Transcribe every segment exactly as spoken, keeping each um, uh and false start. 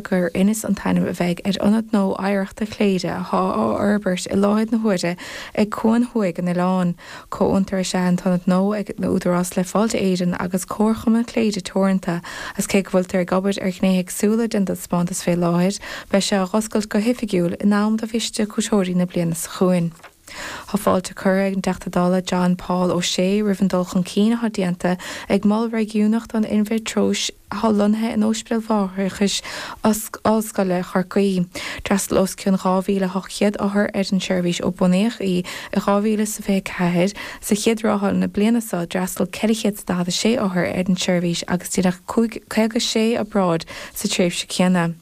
gur Inis an t-ainm a bheidh ar ionad nua oidhreachta Chléire atá á fhorbairt i láthair na huaire ag cuan thuaidh an oileáin. Comhfhiontar is ea an t-ionad nua ag an Údarás le Fáilte Éireann agus Comharchumann Chléire Teoranta agus cé go bhfuiltear ag obair ar ghnéithe éagsúla den taispeántas fé láthair, beidh sé á oscailt go hoifigiúil in am do bhiaiste cuairteoirí na bliana seo chugainn. Tá fáilte curtha ag an dTeachta Dála John Paul O'Shea roimh an dul chun cinn atá déanta ag mol réigiúnach don inmhítreois atá lonnaithe in Ospidéal Mháithreachais Ollscoile Chorcaí. D'fhreastail os cionn dhá mhíle ocht gcéad othar ar an seirbhís ó bunaíodh í i dhá mhíle is fiche ceathair. Sa chéad ráithe na bliana seo d'fhreastail ceithre chéad daichead a sé othar ar an seirbhís agus déanadh caoga sé obráid sa tréimhse céanna.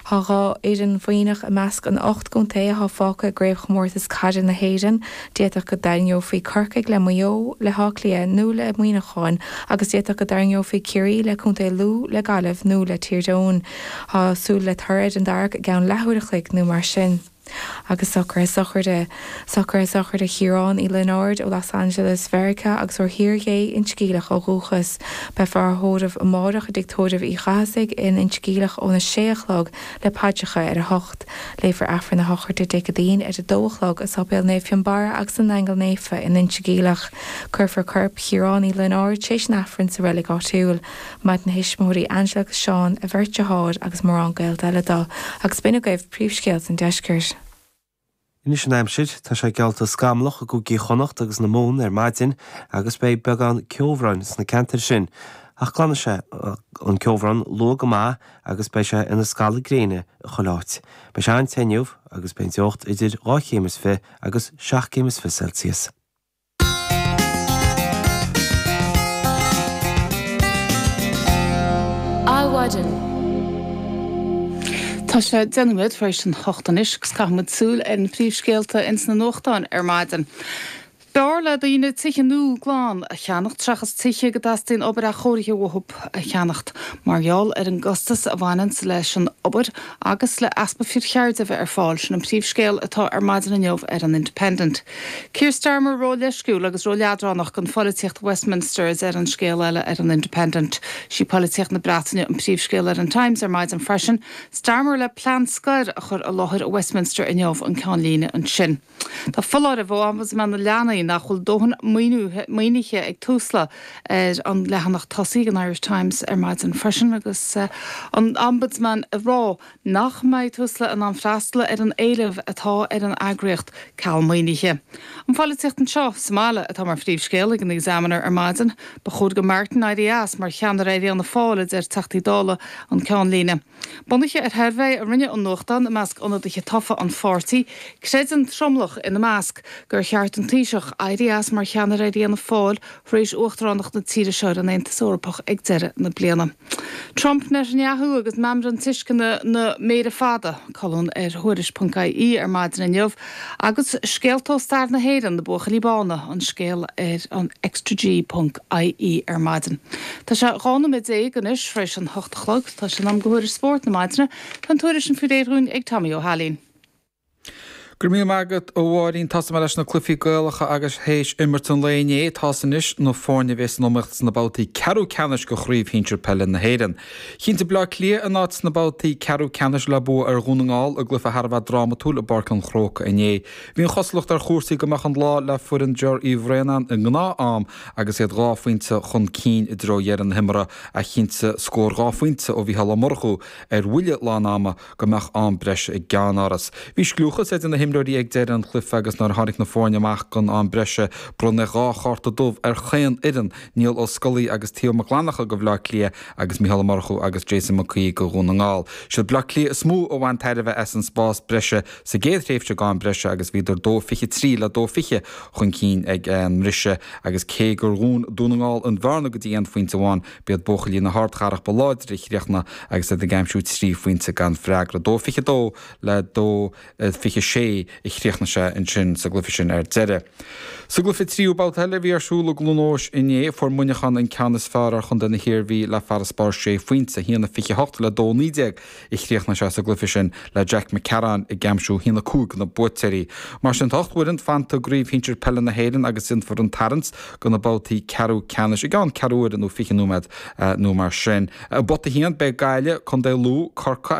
Tá dhá fhoireann Mhuimhneach i measc an ocht gcontae atá fágtha i gcraobhchomórtas caide na hÉireann. D'fhéadfadh go dtarraingeofaí Corcaigh le Maigh Eo, le hÁth Cliath nó le Muineachán agus d'fhéadfadh go dtarraingeofaí Ciarraí le Contae Lú, le Gaillimh nó le Tír Eoghain. Tá súil le toradh ar an dtarrac i gceann leathuair a chloig nó mar sin. Agus socruithe sochraide. Socruithe sochraide Chiaráin Uí Lionáird ó Los Angeles, Mheiriceá agus ó Thír Ghé, Inse Geimhleach ó dhúchas. Beifear á thórramh amárach i dTigh Tórraimh Uí Chathasaigh in Inse Geimhleach óna sé a chlog le paidreacha ar a hocht. Léifear Aifreann na sochraide Dé Céadaoin ar a dó a chlog i Sáipéal Naomh Fionnbarra agus na nAingeal Naofa in Inse Geimhleach. Cuirfear corp Chiaráin Uí Lionáird tar éis an Aifrinn sa reilig áitiúil. Maireann a thuismitheoirí Angela agus Seán, a bheirt dearthár agus mórán gaolta eile dó, agus b'in agaibh príomhscéalta an deiscirt. Anois an aimsir, tá sé geallta scamallach i gCúige Chonnacht agus na Mumhan ar maidin agus beidh beagán ceobhráin sna ceantair sin. Ach glanfaidh sé an ceobhrán luath go maith agus beidh sé ina scalladh gréine i chuile áit. Beidh sé an-te inniu agus beidh an teocht idir dhá chéim is fiche agus seacht gcéim is fiche Celsius. Adhmhaidin. Tá sé deich nóiméad tar éis an hocht anois agus caithfidh muid súil ar na príomhscéalta ins na nuachtáin ar maidin. B'fhearr le daoine tithe nua glan a cheannacht seachas tithe go dteastaíonn obair athchóirithe uathu a cheannacht mar gheall ar an gcostas a bhaineann leis an obair agus le easpa fir cheirde a bheith ar fáil, sin an príomhscéal atá ar maidin inniu ar an Independent. Keir Starmer ró-leisciúil agus ró-leadránach don pholaitíocht Westminster a deir an scéal eile ar an Independent. Sí polaitíocht na Breataine an príomhscéal ar an Times ar maidin freisin. Starmer le plean scoir a chur i láthair Westminster inniu an ceannlíne ansin. Tá foláireamh ó Ombudsman na Leanaí nach bhfuil dóthain maoinithe ag Tusla ar an leathanach tosaigh an Irish Times ar maidin freisin agus an Ombudsman ag rá nach mbeidh Tusla in ann freastal ar an éileamh atá ar an eagraíocht ceal maoinithe. An pholaitíocht anseo sa mbaile atá mar phríomhscéal ag an Examiner ar maidin. Ba chóir do Martin éirí as mar cheannaire ar Fhianna Fáil, a deir Teachtaí Dála an ceannlíne. Bunaithe ar shuirbhé a rinne an nuachtán i measc ionadaithe tofa an pháirtí, creideann tromlach ina measc gur cheart don Taoiseach éirí as mar cheannaire ar Fhianna Fáil tar éis uachtaránacht na tíre seo ar an Aontas Eorpach ag deireadh na bliana. Trump, Netanyahu agus Meamram Tuisceana na Méire Fada, colún ar Thuairisc ponc IE ar maidin inniu, agus scéalta ó stair na hÉireann, na Buachaillí Bána, an scéal ar an ExtraG ponc IE ar maidin. Tá sé dhá nóiméad déag anois tar éis an hocht a chlog. Tá sé in am do thuairisc spóirt na maidine. Tá an tuairisc sin faoi réir dhúinn ag Tommy Ó hAilín. Go raibh míle maith agat, a Mháirín. Tosóidh mé leis na cluichí Gaelacha agus théis imirt an lae inné, tá's anois na foirne a bheas san iomaíocht sna babhtaí ceathrú ceannais de Chraobh Shinsir Peile na hÉireann. Chinntigh Bleá Cliath a n-áit sna babhtaí ceathrú ceannais le bua ar Dhún na nGall i gcluiche thar a bheith drámatúil i bPáirc an Chrócaigh inné. Bhí an chosúlacht ar chúrsaí go mbeadh an lá le foireann Ger Uí Bhraonáin i ngnáth-am agus iad dhá phointe chun cinn i dtreo dheireadh na himeartha ach chinntigh scór dhá phointe ó Mhícheál Ó Murchú ar bhuille lán ama go mbeadh am breise i gceannáras. Bhí scliúchas idir na himreoirí ag deireadh an chluiche agus nuair a tháinig na foirne amach don am breise bronnadh dhá chárta dubh ar chaon fhoireann, Niall Ó Scolaí agus Theo Mac Fhlannchadha do Bhleá Cliath agus Mícheál Ó Murchú agus Jason McCaoig do Dhún na nGall. Siad Bleá Cliath is mó a bhain tairbhe as an spás breise sa gcéad thréimhse d'am breise agus bhíodar dó fiche trí le dó fiche chun cinn ag an mbriseadh agus cé gur dhún Dún na nGall an bhearna go dtí aon phointe amháin b'iad buachaillí na hardchathrach ba láidre a chríochnaigh agus iad ag aimsiú trí phointe gan freagra. Dó fiche dó le dó fiche sé sé a chríochnaigh sé ansin sa gcluiche sin ar deireadh. Sa gcluiche tríú babhta eile a bhí ar siúl i gCluain Eois inné, fuair Muineachán an ceann is fearr ar chontae na hIarmhí le farasbarr sé phointe, a haon a fiche hocht le dó naoi déag a chríochnaigh sé sa gcluiche sin le Jack McCarron ag aimsiú a haon a cúig do na buaiteoirí. Mar sin tá ocht bhfoireann fanta i gCraobh Shinsir Peile na hÉireann agus déanfar an tarraingt do na babhtaí ceathrú ceannais i gceann ceathrú uaire nó fiche nóiméad nó mar sin. I bpota a haon beidh Gaillimh, Contae Lú, Corcaigh agus.